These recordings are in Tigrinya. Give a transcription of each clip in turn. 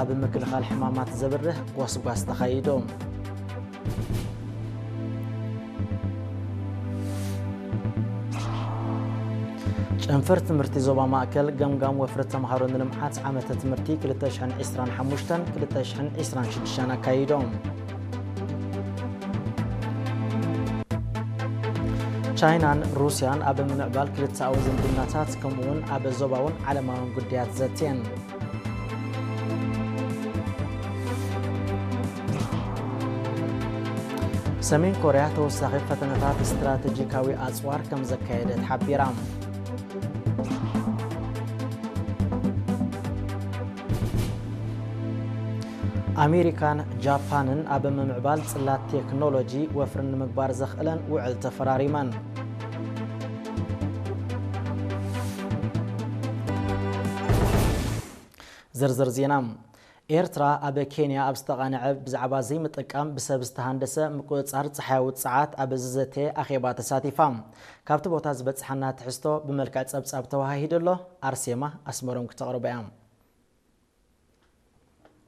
ኣብ ምክልኻል ሕማማት ዘብርህ ጎስጓስ ተኻይዱ። ጨንፈር ትምህርቲ ዞባ ማእከል ገምጋም ወፍሪ ተምሃሮ ንልምዓት ዓመተ ትምህርቲ ክልተ ሽሕን ዕስራን ሓሙሽተን ክልተ ሽሕን ዕስራን ሽዱሽተን ኣካይዶም። ቻይናን ሩስያን ኣብ ምምዕባል ክልተኣዊ ዝምድናታት ከምኡውን ኣብ ዞባውን ዓለማውን ጉዳያት ዘትየን። ሰሜን ኮርያ ተወሳኺ ፈተነታት ስትራቴጂካዊ ኣጽዋር ከም ዘካየደት ሓቢራ። ኣሜሪካን ጃፓንን ኣብ ምምዕባል ጽላት ቴክኖሎጂ ወፍሪ ንምግባር ዘኽእለን ውዕል ተፈራሪመን። ዝርዝር ዜና። ኤርትራ ኣብ ኬንያ ኣብ ዝተቓንዐ ብዛዕባ ዘይምጥቃም ብሰብ ዝተሃንደሰ ምቁጽጻር ጸሓያዊ ጸዓት ኣብ ዝዘተ ኣኼባ ተሳቲፋ። ካብቲ ቦታ ዝበጽሓና ትሕዝቶ ብመልክዕ ጸብጻብ ተወሃሂዱ ኣሎ። ኣርሴማ ኣስመሮም ክተቕርቦ እያ።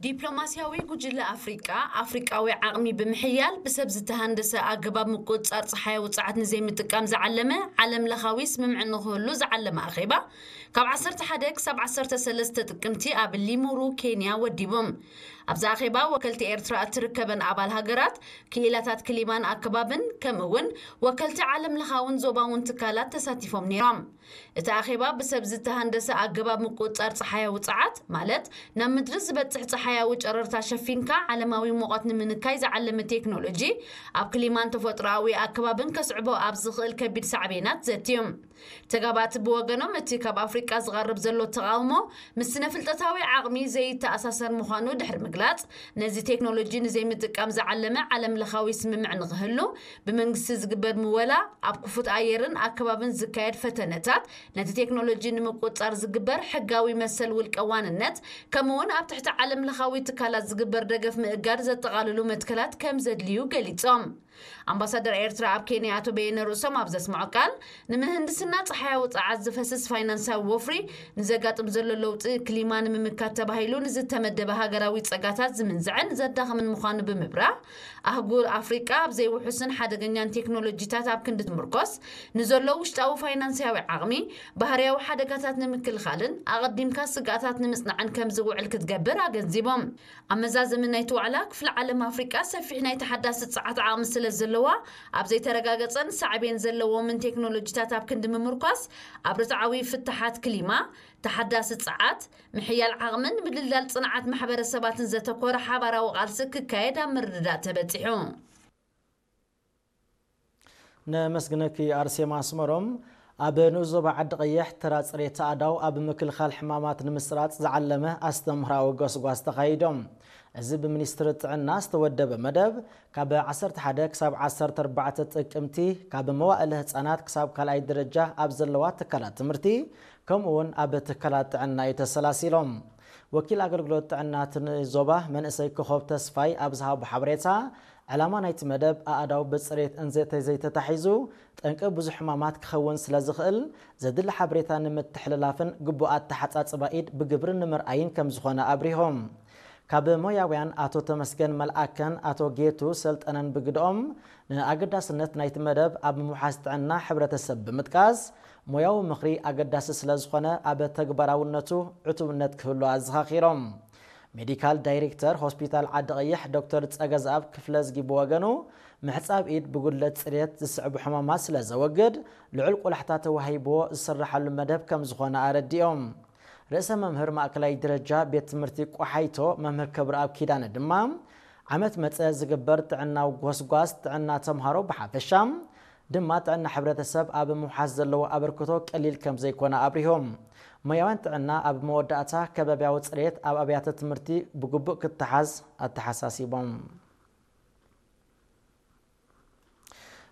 ዲፕሎማስያዊ ጉጅለ ኣፍሪቃ፣ ኣፍሪቃዊ ዓቕሚ ብምሕያል ብሰብ ዝተሃንደሰ ኣገባብ ምቁጽጻር ጸሓያዊ ጸዓት ንዘይምጥቃም ዝዓለመ ዓለም ለኻዊ ስምምዕ ንኽህሉ ዝዓለመ ኣኼባ ካብ ዓሰርተ ሓደ ክሳብ ዓሰርተ ሰለስተ ጥቅምቲ ኣብ ሊሙሩ ኬንያ ወዲቦም። ኣብዚ ኣኼባ ወከልቲ ኤርትራ እትርከበን ኣባል ሃገራት፣ ክኢላታት ክሊማን ኣከባብን ከምኡ እውን ወከልቲ ዓለም ለኻውን ዞባውን ትካላት ተሳቲፎም ነይሮም። እቲ ኣኼባ ብሰብ ዝተሃንደሰ ኣገባብ ምቁጽጻር ጸሓያዊ ጸዓት፣ ማለት ናብ ምድሪ ዝበጽሕ ጸሓያዊ ጨረርታ ሸፊንካ ዓለማዊ ሙቐት ንምንካይ ዝዓለመ ቴክኖሎጂ፣ ኣብ ክሊማን ተፈጥሮኣዊ ኣከባብን ከስዕቦ ኣብ ዝኽእል ከቢድ ሳዕቤናት ዘትዮም። ተጋባእቲ ብወገኖም እቲ ካብ ኣፍሪቃ ዝቐርብ ዘሎ ተቓውሞ ምስ ስነ ፍልጠታዊ ዓቕሚ ዘይተኣሳሰር ምዃኑ ድሕሪ ምግላጽ፣ ነዚ ቴክኖሎጂ ንዘይምጥቃም ዝዓለመ ዓለም ለኻዊ ስምምዕ ንኽህሉ ብመንግስቲ ዝግበር ምወላ፣ ኣብ ክፉት ኣየርን ኣከባብን ዝካየድ ፈተነታት፣ ነቲ ቴክኖሎጂ ንምቁጽጻር ዝግበር ሕጋዊ መሰል ውልቀ ዋንነት፣ ከምኡውን ኣብ ትሕቲ ዓለም ለኻዊ ትካላት ዝግበር ደገፍ ምእጋድ ዘጠቓልሉ መትከላት ከም ዘድልዩ ገሊጾም። ኣምባሳደር ኤርትራ ኣብ ኬንያ ኣቶ በየነ ርእሶም ኣብ ዘስምዖ ቃል፣ ንምህንድስና ጸሓያዊ ጸዓት ዝፈስስ ፋይናንሳዊ ወፍሪ ንዘጋጥም ዘሎ ለውጢ ክሊማ ንምምካት ተባሂሉ ንዝተመደበ ሃገራዊ ጸጋታት ዝምንዝዕን ዘዳኽምን ምዃኑ ብምብራህ፣ ኣህጉር ኣፍሪቃ ኣብ ዘይውሑስን ሓደገኛን ቴክኖሎጂታት ኣብ ክንዲ ትምርኮስ፣ ንዘሎ ውሽጣዊ ፋይናንሳዊ ዓቕሚ፣ ባህርያዊ ሓደጋታት ንምክልኻልን ኣቐዲምካ ስግኣታት ንምጽናዕን ከም ዝውዕል ክትገብር ኣገንዚቦም። ኣብ መዛዘሚ ናይቲ ዋዕላ፣ ክፍለ ዓለም ኣፍሪቃ ሰፊሕ ናይ ተሓዳሲ ጸዓት ዓቕሚ ስለ ዘለዋ፣ ኣብ ዘይተረጋገጸን ሳዕቤን ዘለዎምን ቴክኖሎጂታት ኣብ ክንዲ ምምርኳስ፣ ኣብ ርትዓዊ ፍታሓት ክሊማ፣ ተሓዳሲ ጸዓት፣ ምሕያል ዓቕምን ምድልዳል ጽንዓት ማሕበረሰባትን ዘተኮረ ሓባራዊ ቃልሲ ክካየድ ኣብ ምርድዳእ ተበጺሑ። ነመስግነኪ ኣርሴማ ኣስመሮም። ኣብ ንኡስ ዞባ ዓዲ ቀይሕ ተራ ጽሬት ኣእዳው ኣብ ምክልኻል ሕማማት ንምስራጽ ዝዓለመ ኣስተምህራዊ ጎስጓስ ተኻይዶም። እዚ ብሚኒስትሪ ጥዕና ዝተወደበ መደብ ካብ ዓሰርተ ሓደ ክሳብ ዓሰርተ ኣርባዕተ ጥቅምቲ ካብ መዋእለ ህጻናት ክሳብ ካልኣይ ደረጃ ኣብ ዘለዋ ትካላት ትምህርቲ ከምኡ እውን ኣብ ትካላት ጥዕና እዩ ተሰላሲሎም። ወኪል ኣገልግሎት ጥዕና እቲ ንኡስ ዞባ መንእሰይ ኮኾብ ተስፋይ ኣብ ዝሃቦ ሓበሬታ፣ ዕላማ ናይቲ መደብ ኣእዳው ብጽሬት እንዘተዘይተታሒዙ ጠንቂ ብዙሕ ሕማማት ክኸውን ስለ ዝኽእል፣ ዘድሊ ሓበሬታ ንምትሕልላፍን ግቡእ ኣተሓጻጽባ ኢድ ብግብሪ ንምርኣይን ከም ዝኾነ ኣብሪሆም። ካብ ሞያውያን ኣቶ ተመስገን መልኣከን ኣቶ ጌቱ ሰልጠነን ብግድኦም፣ ንኣገዳስነት ናይቲ መደብ ኣብ ምውሓስ ጥዕና ሕብረተሰብ ብምጥቃስ፣ ሞያዊ ምኽሪ ኣገዳሲ ስለ ዝኾነ ኣብ ተግባራውነቱ ዕቱብነት ክህሉ ኣዘኻኺሮም። ሜዲካል ዳይሬክተር ሆስፒታል ዓዲ ቀይሕ ዶክተር ጸገዝኣብ ክፍለዝጊ ብወገኑ፣ ምሕጻብ ኢድ ብጉድለት ጽሬት ዝስዕቡ ሕማማት ስለ ዘወግድ፣ ልዑል ቆላሕታ ተዋሂብዎ ዝስርሓሉ መደብ ከም ዝኾነ ኣረዲኦም። ርእሰ መምህር ማእከላይ ደረጃ ቤት ትምህርቲ ቆሓይቶ መምህር ክብረኣብ ኪዳነ ድማ፣ ዓመት መጸ ዝግበር ጥዕናዊ ጎስጓስ ጥዕና ተምሃሮ ብሓፈሻ፣ ድማ ጥዕና ሕብረተሰብ ኣብ ምውሓስ ዘለዎ ኣበርክቶ ቀሊል ከም ዘይኮነ ኣብሪሆም። ሞያውያን ጥዕና ኣብ መወዳእታ ከባብያዊ ጽሬት ኣብ ኣብያተ ትምህርቲ ብግቡእ ክተሓዝ ኣተሓሳሲቦም።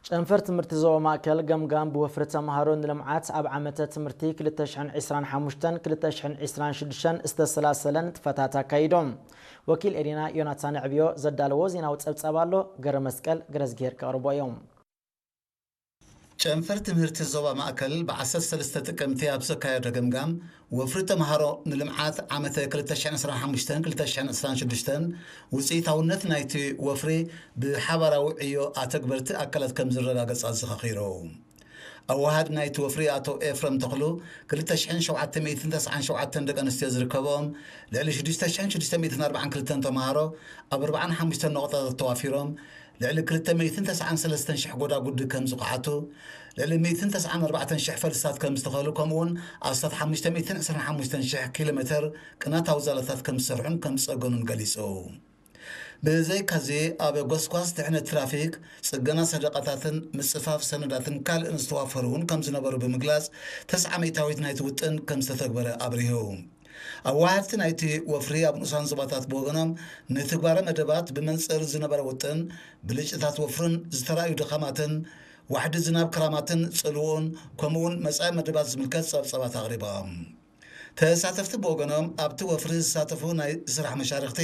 ጨንፈር ትምህርቲ ዞባ ማእከል ገምጋም ብወፍሪ ተምሃሮ ንልምዓት ኣብ ዓመተ ትምህርቲ ክልተ ሽሕን ዕስራን ሓሙሽተን ክልተ ሽሕን ዕስራን ሽዱሽተን ዝተሰላሰለ ንጥፈታት ኣካይዶም። ወኪል ኤሪና ዮናታን ዕብዮ ዘዳለዎ ዜናዊ ጸብጻብ ኣሎ፣ ገረመስቀል ገረዝግሄር ከቕርቦ እዮም። ጨንፈር ትምህርቲ ዞባ ማእከል ብ ዓሰርተ ሰለስተ ጥቅምቲ ኣብ ዘካየዶ ገምጋም፣ ወፍሪ ተምሃሮ ንልምዓት ዓመተ ክልተ ሽሕን ዕስራን ሓሙሽተን ክልተ ሽሕን ዕስራን ሽዱሽተን ውፅኢታውነት ናይቲ ወፍሪ ብሓባራዊ ዕዮ ኣተግበርቲ ኣካላት ከም ዝረጋገፅ ኣዘኻኺሩ። ኣወሃድ ናይቲ ወፍሪ ኣቶ ኤፍረም ተኽሉ፣ ክልተ ሽሕን ሸውዓተ ሚእትን ተስዓን ሸውዓተን ደቂ ኣንስትዮ ዝርከብኦም ልዕሊ ሽዱሽተ ሽሕን ሽዱሽተ ሚእትን ኣርባዓን ክልተን ተምሃሮ ኣብ ኣርባዓን ሓሙሽተን ነቑጣታት ተዋፊሮም፣ ልዕሊ ክልተ ሚእትን ተስዓን ሰለስተን ሽሕ ጎዳጉዲ ከም ዝኸሓቱ፣ ልዕሊ ሚእትን ተስዓን ኣርባዕተን ሽሕ ፈልስታት ከም ዝተኸሉ፣ ከምኡውን ኣስታት ሓሙሽተ ሚእትን ዕስራን ሓሙሽተን ሽሕ ኪሎ ሜተር ቅናታዊ ዛላታት ከም ዝሰርሑን ከም ዝጸገኑን ገሊጹ። ብዘይካዚ፣ ኣብ ጎስጓስ ድሕነት ትራፊክ፣ ጽገና ሰደቓታትን ምጽፋፍ ሰነዳትን ካልእን ዝተዋፈሩ እውን ከም ዝነበሩ ብምግላጽ፣ ተስዓ ሚእታዊት ናይቲ ውጥን ከም ዝተተግበረ ኣብሪሁ። ኣዋሃድቲ ናይቲ ወፍሪ ኣብ ንኡሳን ዞባታት ብወገኖም፣ ንትግባረ መደባት ብመንጽር ዝነበረ ውጥን፣ ብልጭታት ወፍርን ዝተራእዩ ድኻማትን፣ ዋሕዲ ዝናብ ክራማትን ጽልውኡን፣ ከምኡውን መጻኢ መደባት ዝምልከት ጸብጻባት ኣቕሪቦም። ተሳተፍቲ ብወገኖም፣ ኣብቲ ወፍሪ ዝሳተፉ ናይ ስራሕ መሻርኽቲ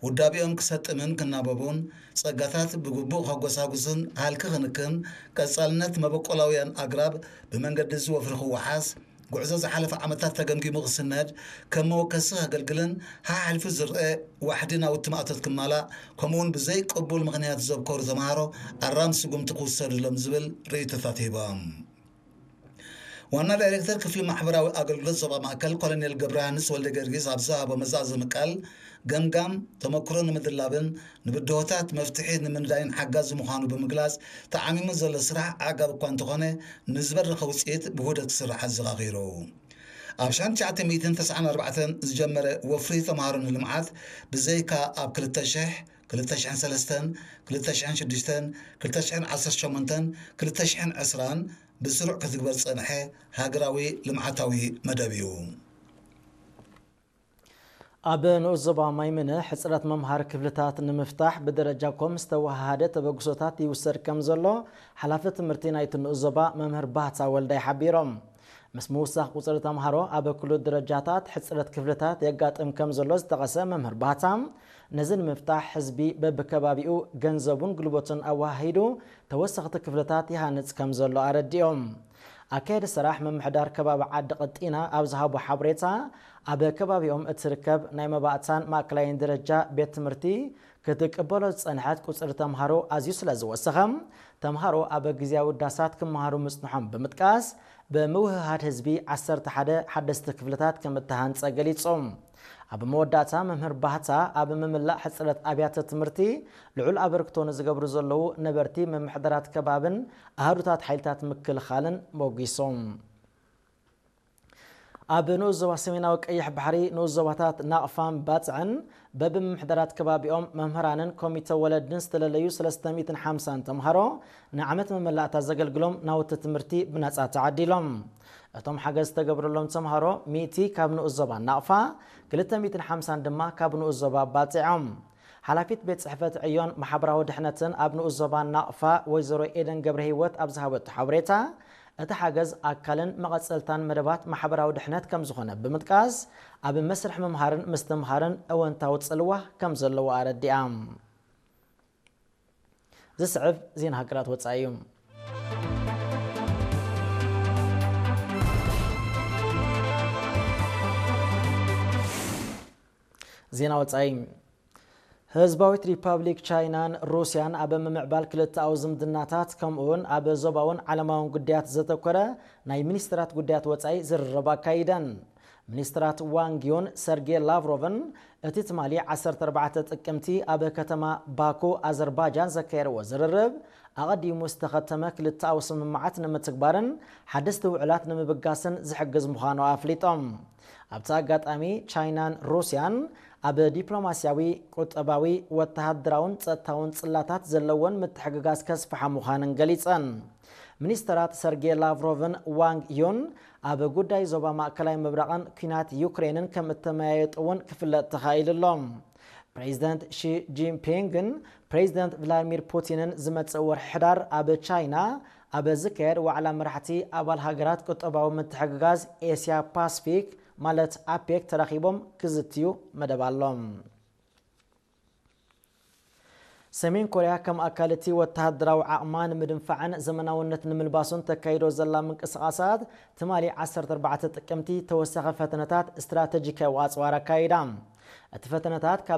ውዳቤኦም ክሰጥምን ክናበቡን፣ ጸጋታት ብግቡእ ከጎሳጉስን ሃልኪ ክንክን፣ ቀጻልነት መበቆላውያን ኣግራብ ብመንገዲ እዚ ወፍሪ ክወሓስ፣ ጉዕዞ ዝሓለፈ ዓመታት ተገምጊሙ ክስነድ፣ ከም መወከሲ ከገልግልን ሓሓሊፉ ዝረአ ዋሕዲ ናውቲ ማእቶት ክማላእ፣ ከምኡውን ብዘይ ቅቡል ምኽንያት ዘብከሩ ተምሃሮ ኣራም ስጉምቲ ክውሰድሎም ዝብል ርእይቶታት ሂቦም። ዋና ዳይሬክተር ክፍሊ ማሕበራዊ ኣገልግሎት ዞባ ማእከል ኮሎኔል ገብረሃንስ ወልደ ጊዮርጊስ ኣብ ዝሃቦ መዛዘሚ ቃል፣ ገምጋም ተመክሮ ንምድላብን ንብድሆታት መፍትሒ ንምንዳይን ሓጋዚ ምዃኑ ብምግላጽ፣ ተዓሚሙ ዘሎ ስራሕ ኣዕጋቢ እኳ እንተኾነ፣ ንዝበረኸ ውጽኢት ብውህደት ክስራሕ ኣዘኻኺሩ። ኣብ ሽሕን ትሽዓተ ሚእትን ተስዓን ኣርባዕተን ዝጀመረ ወፍሪ ተምሃሮ ንልምዓት፣ ብዘይካ ኣብ ክልተ ሽሕ፣ ክልተ ሽሕን ሰለስተን፣ ክልተ ሽሕን ሽዱሽተን፣ ክልተ ሽሕን ዓሰርተ ሸሞንተን፣ ክልተ ሽሕን ዕስራን ብስሩዕ ክትግበር ዝጸንሐ ሃገራዊ ልምዓታዊ መደብ እዩ። ኣብ ንኡስ ዞባ ማይምነ ሕጽረት መምሃሪ ክፍልታት ንምፍታሕ ብደረጃ ኮም ዝተወሃሃደ ተበግሶታት ይውሰድ ከም ዘሎ ሓላፊ ትምህርቲ ናይቲ ንኡስ ዞባ መምህር ባህታ ወልዳይ ሓቢሮም። ምስ ምውሳኽ ቁጽሪ ተምሃሮ ኣብ ኩሉ ደረጃታት ሕጽረት ክፍልታት የጋጥም ከም ዘሎ ዝጠቐሰ መምህር ባህታ፣ ነዚ ንምፍታሕ ህዝቢ በብከባቢኡ ገንዘቡን ጉልበቱን ኣወሃሂዱ ተወሰኽቲ ክፍልታት ይሃንጽ ከም ዘሎ ኣረዲኦም። ኣካየዲ ስራሕ ምምሕዳር ከባቢ ዓዲ ቀጢና ኣብ ዝሃቦ ሓበሬታ፣ ኣብ ከባቢኦም እትርከብ ናይ መባእታን ማእከላይን ደረጃ ቤት ትምህርቲ ክትቅበሎ ዝጸንሐት ቁጽሪ ተምሃሮ ኣዝዩ ስለ ዝወሰኸ፣ ተምሃሮ ኣብ ግዝያዊ ዳሳት ክመሃሩ ምጽንሖም ብምጥቃስ፣ ብምውህሃድ ህዝቢ ዓሰርተ ሓደ ሓደስቲ ክፍልታት ከም እተሃንጸ ገሊጹ። ኣብ መወዳእታ መምህር ባህታ፣ ኣብ ምምላእ ሕጽረት ኣብያተ ትምህርቲ ልዑል ኣበርክቶ ንዝገብሩ ዘለዉ ነበርቲ ምምሕዳራት ከባብን ኣሃዱታት ሓይልታት ምክልኻልን ሞጒሶም። ኣብ ንኡስ ዞባ ሰሜናዊ ቀይሕ ባሕሪ ንኡስ ዞባታት ናቕፋን ባጽዕን በብምምሕዳራት ከባቢኦም መምህራንን ኮሚተ ወለድን ዝተለለዩ ሰለስተ ሚእትን ሓምሳን ተምሃሮ ንዓመት መመላእታ ዘገልግሎም ናውቲ ትምህርቲ ብነጻ ተዓዲሎም። እቶም ሓገዝ ዝተገብረሎም ተምሃሮ ሚእቲ ካብ ንኡስ ዞባ ናቕፋ፣ ክልተ ሚእትን ሓምሳን ድማ ካብ ንኡስ ዞባ ባጽዕ እዮም። ሓላፊት ቤት ጽሕፈት ዕዮን ማሕበራዊ ድሕነትን ኣብ ንኡስ ዞባ ናቕፋ ወይዘሮ ኤደን ገብረ ህይወት ኣብ ዝሃበቶ ሓበሬታ፣ እቲ ሓገዝ ኣካልን መቐጸልታን መደባት ማሕበራዊ ድሕነት ከም ዝኾነ ብምጥቃስ፣ ኣብ መስርሕ ምምሃርን ምስትምሃርን እወንታዊ ጽልዋ ከም ዘለዎ ኣረዲኣ። ዝስዕብ ዜና ሃገራት ወጻኢ እዩ። ዜና ወጻኢ። ህዝባዊት ሪፓብሊክ ቻይናን ሩስያን ኣብ ምምዕባል ክልተኣዊ ዝምድናታት፣ ከምኡውን ኣብ ዞባውን ዓለማውን ጉዳያት ዘተኮረ ናይ ሚኒስትራት ጉዳያት ወጻኢ ዝርርብ ኣካይደን። ሚኒስትራት ዋንግ ዩን ሰርጌ ላቭሮቭን እቲ ትማሊ ዓሰርተ ኣርባዕተ ጥቅምቲ ኣብ ከተማ ባኩ ኣዘርባጃን ዘካየድዎ ዝርርብ፣ ኣቐዲሙ ዝተኸተመ ክልተኣዊ ስምምዓት ንምትግባርን ሓደስቲ ውዕላት ንምብጋስን ዝሕግዝ ምዃኑ ኣፍሊጦም። ኣብቲ ኣጋጣሚ፣ ቻይናን ሩስያን ኣብ ዲፕሎማስያዊ፣ ቁጠባዊ፣ ወተሃደራውን ጸጥታውን ጽላታት ዘለወን ምትሕግጋዝ ከስፍሓ ምዃነን ገሊጸን። ሚኒስተራት ሰርጌ ላቭሮቭን ዋንግ ዩን ኣብ ጉዳይ ዞባ ማእከላይ ምብራቕን ኲናት ዩክሬንን ከም እተመያየጡ እውን ክፍለጥ ተኻኢሉ ኣሎ። ፕሬዚደንት ሺ ጂንፒንግን ፕሬዚደንት ቭላድሚር ፑቲንን ዝመጽእ ወርሒ ሕዳር ኣብ ቻይና ኣብ ዝካየድ ዋዕላ መራሕቲ ኣባል ሃገራት ቁጠባዊ ምትሕግጋዝ ኤስያ ፓስፊክ፣ ማለት ኣፔክ፣ ተራኺቦም ክዝትዩ መደብ ኣሎ። ሰሜን ኮርያ ከም ኣካል እቲ ወተሃደራዊ ዓቕማ ንምድንፋዕን ዘመናውነት ንምልባሱን ተካይዶ ዘላ ምንቅስቓሳት፣ ትማሊ ዓሰርተ ኣርባዕተ ጥቅምቲ ተወሳኺ ፈተነታት ስትራተጂካዊ ኣጽዋር ኣካይዳ። እቲ ፈተነታት ካብ